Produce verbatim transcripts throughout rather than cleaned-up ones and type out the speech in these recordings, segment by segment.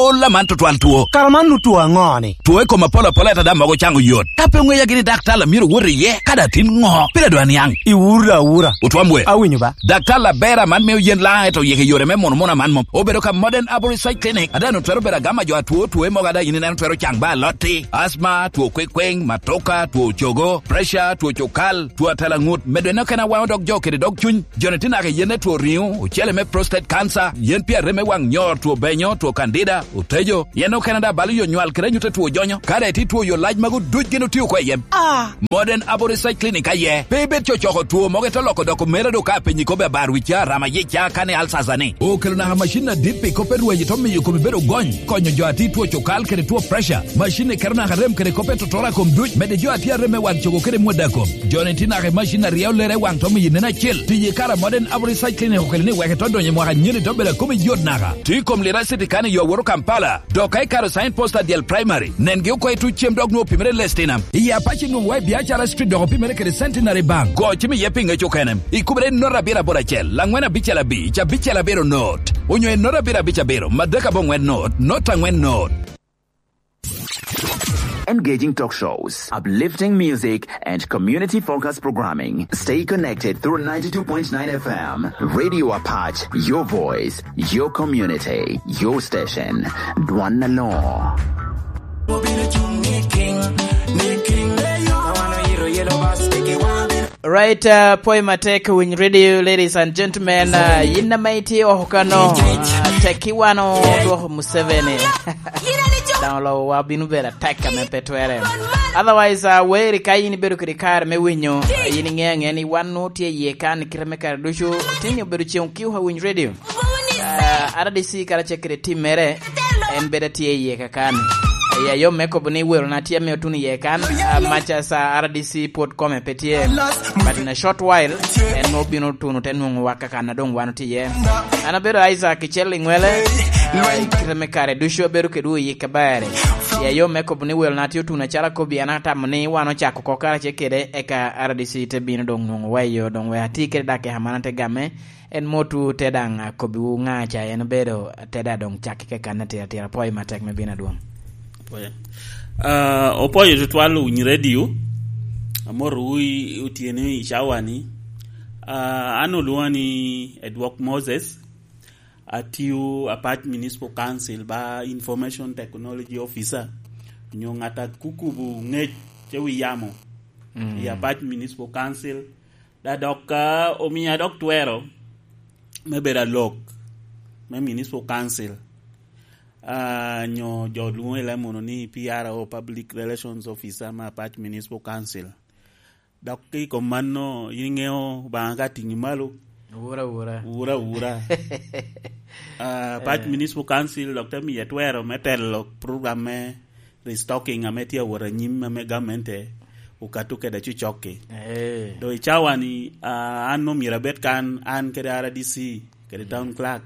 Ola man tutwal two. Kara man nu two aŋo ni? Two i kom apol apol, ata dam mogo caŋ oyot. Ka pe oŋeya gini dak tala myero wot iye, ka da tin ŋo? Pire dwa niaŋ. I wura, wura. Otwam we. Awinyo ba. Dak tala bera man me oyen la, eto yeke yore me mono mono man mom. Obedo ka Modern Arborist Clinic. Ada nu twero bedo agama jo atwo, two mogo ada yin ineno twero caŋ ba alotti. Asma, two kwekweng, matoka, two cogo, pressure, two cokal, two atala ŋut. Medo eno kena waŋo dog jo kede dog cuny. Joni tye naka i yen me two riŋo, ocele me prostate cancer, yen pi arem me waŋ nyor, two benyo, two candida, otejo, yen okene da balo yo nywal kede anyut two jonyo. Ka daŋ itye two yo lac magu duc gin otio oko i yem. Ah! Modern Abo Research Clinic aye. Pe ibed cocoko two mogo ito loko dok omera do ka apenyi kobbe abar wi ca, rama yic ca, kani alsasa ni. Okelo naka macin adit pi kop pe rweny ito miyo kome bedo gony, konyo jo ati two cokal kede two pressure. Macin ni keto naka rem kede kop pe totora kom duc, medde jo ati arem me waŋ cogo kede mwada kom. Joni tye naka i macin aryo lere waŋ to miyo nen acel. Tiyo i kare a Modern Abo Research Clinic okelo ni wek ito donyo i mwaka nyeni to bedo a kome yot naka. Tye i kom Lira City kan i yo awoto Kampala. Dok ka ikaro sign post adyel primary, nengi oko i tuc cem dok nwoŋo opimere i Lestinam. I Apac inwoŋo wa i Biacara Street dok opimere kede Centenary Bank. Go cim iye pi ŋec okene. Ikubere i note abiro aboro acel, laŋwen abicel abic, abicel abiro note. Onyo i note abiro abic abiro, madek aboŋwen note, note aŋwen note. Engaging talk shows, uplifting music, and community-focused programming. Stay connected through ninety-two point nine F M. Radio Apac, your voice, your community, your station. Dwan na law. Right, uh, poi matek winy radio, ladies and gentlemen, uh, yin na maiti oh kano, uh, teki wano dwoko Museveni. Daŋ olowa bino bedo attack ame pe twere. Otherwise, uh, weri ka yin ibedo kede kare me winyo, uh, yin iŋeo aŋea ni wan nwoŋo tye iye kan i kite me kare ducu, tye ni obedo ceŋ kiu ka winy radio. Uh, R D C karacel kede timmere, en bedo tye iye kakan. Ya yo me kobo ni wero na tye me otun iye kan, uh, much as, uh, R D C pwod kome pe tye. But in a short while, en nwoŋo bino tuno te nwoŋo wa kakan a doŋ wan otye iye. An abedo Isaac Icel Iŋwele, uh, i kite me kare ducu abedo kedwu i yik aber. Ya yo me kobo ni welo na tye otuno acalo akobi, an atamo ni wan ocako oko karacel kede, eka R D C te bino doŋ nwoŋo wa i yo, doŋ wek ati kede dakika man ate game, en motu te daŋ akobbiwu ŋa ca en obedo, te daŋ doŋ cak keken atira atira. Apwoyo matek me bino adwoŋ. Apwoyo. Ah, opwoyo tutwal owiny radio, amotowu i otyeno i cawani. Ah, an olwoŋa ni Edwok Moses, atiyo Apac Municipal Council ba Information Technology Officer, onyo ŋat a kukubo ŋec ce wi yamo. Mm. I Apac Municipal Council, da dok ka omia dok twero me bedo alok me Municipal Council, ah, nyo jo lwoŋo i leb munu ni P R O, Public Relations Officer me Apac Municipal Council. Dok i kom mano, in iŋeo Obaŋa ka tiŋi malo. Wura, wura. Wura, wura. Ah, Apac Eh. Municipal Council dok te miye twero me telo program me restocking ame tye awot anyim ame gamente okato kede cucokki. Eh. Do i cawani, ah, an omyero abed kan, an kede R D C, kede town clerk,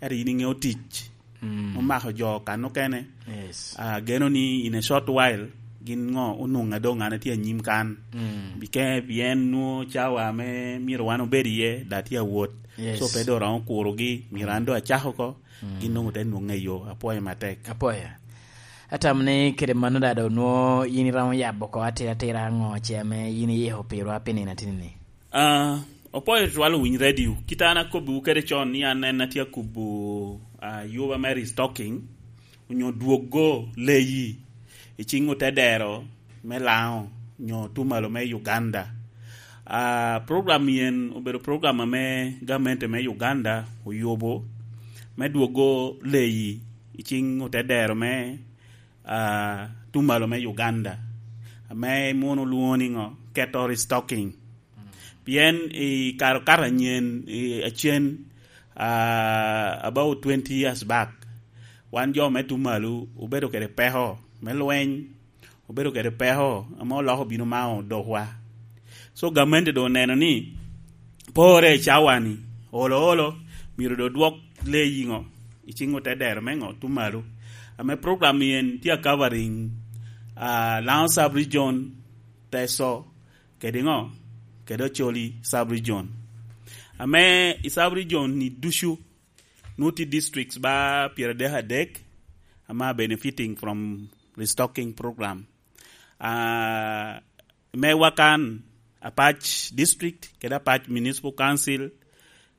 ento in iŋeo tic Mm. omako jo kan okene. Yes. Ah, ageno ni in a short while, gin ŋo onwoŋo adoŋ an atye anyim kan. Mm. Bike-, pien nwoŋo cawa ame myero wan obed iye, da tye awot. Yes. So pe doŋ romo kurogi, myero an doŋ acak oko, Mm. gin doŋ ote nwoŋe i yo. Apwoyo matek. Apwoyo. Atamo ni kede mano da doŋ nwoŋo yin iromo yabo oko atira atira ŋo ce ame yin iyiko pirwa pi nino atini-ni? Ah, opwoyo tutwal owiny radio. Kit an akobbiwu kede con ni an en atye akubo, ah, yuba me restocking, onyo dwoggo leyi i ciŋ otedero me Laŋo, onyo Tumalo me Uganda. Ah, program yen obedo program ame gamente me Uganda oyubo me dwoggo leyi i ciŋ otedero me, ah, Tumalo me Uganda, ame munu lwoŋo ni ŋo? Keto restocking. Pien i kare okato anyen, i, acen, ah, about twenty years back, wan jo me Tumalo obedo kede peko me lweny, obedo kede peko ame oloko obino mao dokwa. So, gamente doŋ oneno ni pore i cawani, olo olo, myero doŋ dwok leyi ŋo? I ciŋ otedero me ŋo? Tumalo. Ame program yen tye a covering, ah, Laŋo Sub-Region, Teso, kede ŋo? Kede Acholi Sub-Region. Ame i Sub-Region ni ducu, nwoŋo tye districts ba pyeradek adek, ama benefiting from restocking program. Uh, me wakan, Apac District kede Apac Municipal Council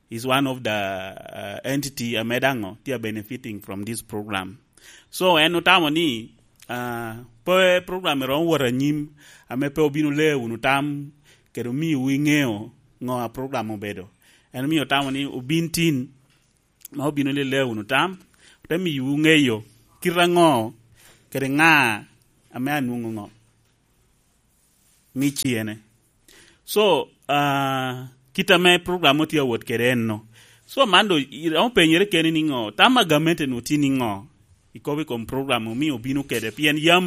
is one of the uh, entity ame daŋo tye benefiting from this program. So en otamo ni uh, pe program eromo wot anyim ame pe obino le wunu tam kede omiwu iŋeo ŋo a program obedo. En omio otamo ni obin tin ma obino lele wunu tam, ote miyowu ŋeyo kite aŋo kede ŋa ame anwoŋo ŋo. Ni ciene. So uh, kit ame program otye awot kede enno. So man do iromo penyere kene ni ŋo tam a gamente nu tye ni ŋo ikobo i kom program omio obino kede pien yam